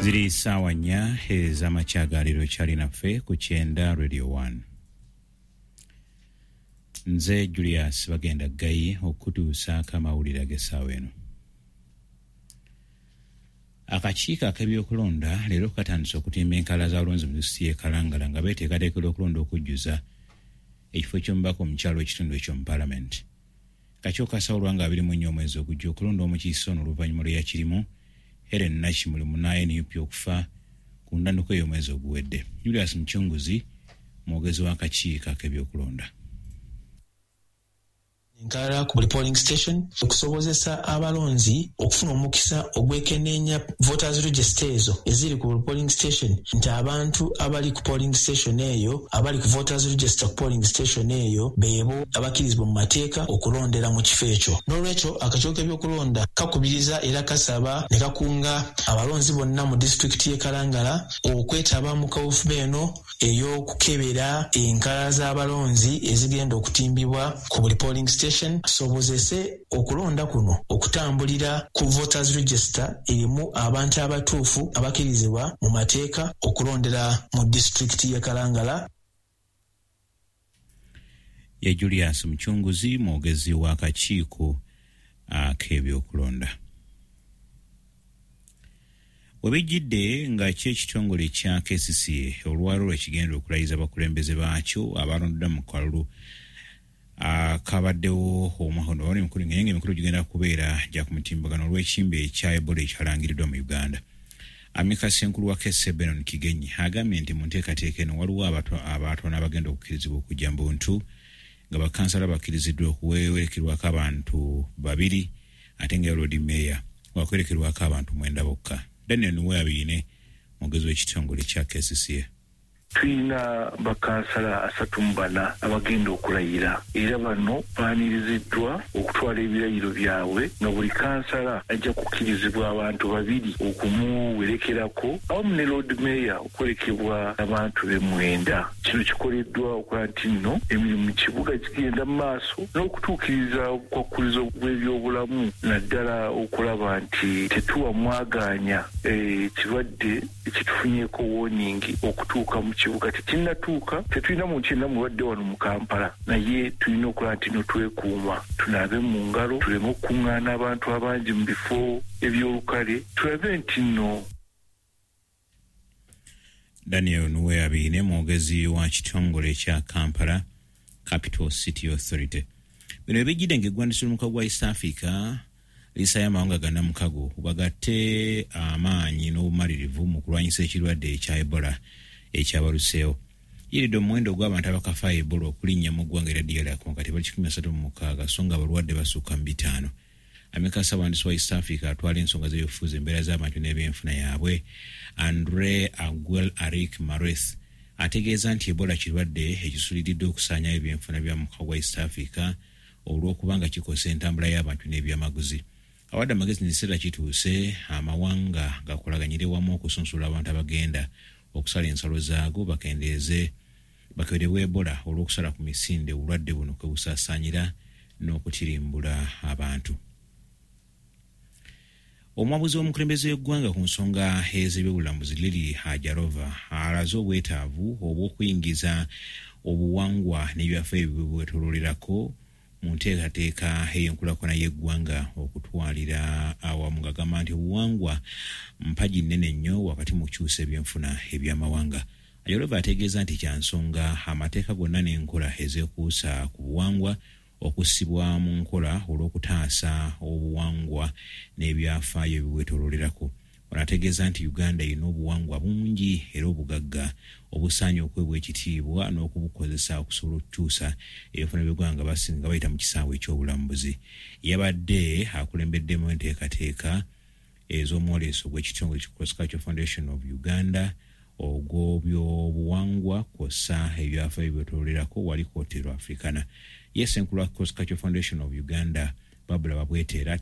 Ziri ssaawa 4 ez'amakya ga leero. Kyali naffe ku 90 Radio 1. Nze Julius Bagenda Ggayi okutuusaako amawulire ag'essaawa eno. Akakiiko ak'ebyokulonda leero katandise okutimba enkalala z'abalonzi mu disitulikiti y'e Kalangala nga beeteekateekera okulonda okujjuza ekifo ky'omubaka omukyala w'ekitundu ekyo mu palamenti. Kakiiko kasawulwa nga 24 omwezi ogujja okulonda omukiise ono oluvannyuma lw'eyakirimu Helen Nakimuli munna NUP okufa ku ntandikwa ey'omwezi oguwedde. Julius Mucunguzi mwogezi w'akakiiko ak'ebyokulonda. Enkalala ku buli polling station okusobozesa abalonzi okufuna omukisa ogwekenneenya voters register ezo eziri ku buli polling station, nti abantu abali ku polling station eyo, abali ku voters register ku polling station eyo, beebo abakkirizibwa mu mateeka okulondera mu kifo ekyo. N'olwekyo akakiiko k'ebyokulonda kakubiriza era kasaba ne kakunga abalonzi bonna mu disitulikiti y'e Kalangala okwetaba mu kaweefube eno ey'okukebera enkalala z'abalonzi ezigenda okutimbibwa ku buli polling station, sobozese okulonda kuno okutambulira ku voters register erimu abantu abatuufu abakkirizibwa mu mateeka okulondera mu disitulikiti y'e Kalangala. Ye Julius Mucunguzi, mwogezi w'akakiiko ak'ebyokulonda. Webijjidde nga kyo ekitongole kya KCCA olwaleero lwekigenda okulayiza abakulembeze baakyo abalondeddwa mu kalulu akabaddewo omwaka guno. Wali emikolo naye nga emikolo gigenda kubeera gya ku mutimbagano olw'ekimbe ekya Ebola ekyalangiriddwa mu Uganda. Amika ssenkulu wa KCCA Benon Kigenyi agambye nti mu nteekateeka eno waliwo abatono abagenda okukkirizibwa okujja mu buntu, nga bakansala bakkiriziddwa okuwerekerwako abantu 2 ate nga Lord Mayor wakwerekerwako abantu 9 bokka. Daniel Nuweabiine mwogezi w'ekitongole kya KCCA. Tulina bakansala 34 abagenda okulayira, era bano baaniriziddwa okutwala ebirayiro byabwe, nga buli kansala ajja kukkirizibwa abantu 2 okumuwerekerako awamu ne Lord Mayor okwerekebwa abantu be 9. Kino kikoleddwa okulaba nti nno emirimu mu kibuga gigenda mu maaso n'okutuukiriza obukwakkulizo bw'ebyobulamu, naddala okulaba nti tetuwa mwagaanya ekirwadde ekitufunyeeko warning okutuuka mu kibuga. Tekinnatuuka, tetulina muntu yenna mulwadde wano mu Kampala, naye tulina okulaba nti no twekuuma, tunaabe mu ngalo, tuleme okukuŋŋaana abantu abangi mu bifo eby'olukale, tulabe nti nno. Daniel Nuweabiine mwogezi wa kitongole kya Kampala Capital City Authority. Bino ebijjidde ng'eggwandiisi ly'omukago gwa East Africa lisayo amawanga gannamukago bagatte amaanyi n'obumalirivu mu kulwanyisa ekirwadde ekya Ebola ekyabaluseewo. Yiridde omuwendo ogw'abantu abakafa Ebola okulinnya mu ggwanga erya DR Congo kati bali 136, so nga abalwadde basukka mu 5. Amika ssabawandiisi wa East Africa atwala ensonga z'ebyobufuzi, embeera z'abantu n'ebyenfuna yaabwe, Andre Aguel Arik Mareth, ategeeza nti Ebola kirwadde ekisuliridde okusaanyawo ebyenfuna bya mukago gwa East Africa olw'okubanga kikosa entambula y'abantu n'ebyamaguzi. Awadde amagezi nti ekiseera kituuse amawanga gakolaganyire wamu okusunsula abantu abagenda okusala ensalo zaago, bakendeeze bakeberebwa Ebola olw'okusala ku misinde obulwadde buno kwe busaasaanyira n'okutirimbula abantu. Omuwabuzi w'omukulembeze w'eggwanga ku nsonga ez'ebyobulambuzi Lily Ajarova alaze obwetaavu obw'okuyingiza obuwangwa n'ebyafaayo ebibwetooloolerako mu nteekateeka ey'enkulaakulana y'eggwanga okutwalira awamu, ng'agamba nti obuwangwa mpagi nnene nnyo wakati mu kukyusa ebyenfuna eby'amawanga. Ajarova ategeeza nti kya nsonga amateeka gonna n'enkola ezeekuusa ku buwangwa okussibwa mu nkola olw'okutaasa obuwangwa n'ebyafaayo ebibwetooloolerako. Ono ategeeza nti Uganda erina obuwangwa bungi era obugagga obusaanye okuweebwa ekitiibwa n'okubukozesa okusobola okukyusa ebyenfuna by'eggwanga nga bayita mu kisaawe eky'obulambuzi. Yabadde akulembeddemu enteekateeka ez'omwoleso gw'ekitongole ki Cross Cultural Foundation of Uganda ogw'obyobuwangwa kw'ossa ebyafaayo ebyetooloolerako wali ku Hotel Africana. Ye ssenkulu wa Cross Cultural Foundation of Uganda Babula Babweteera.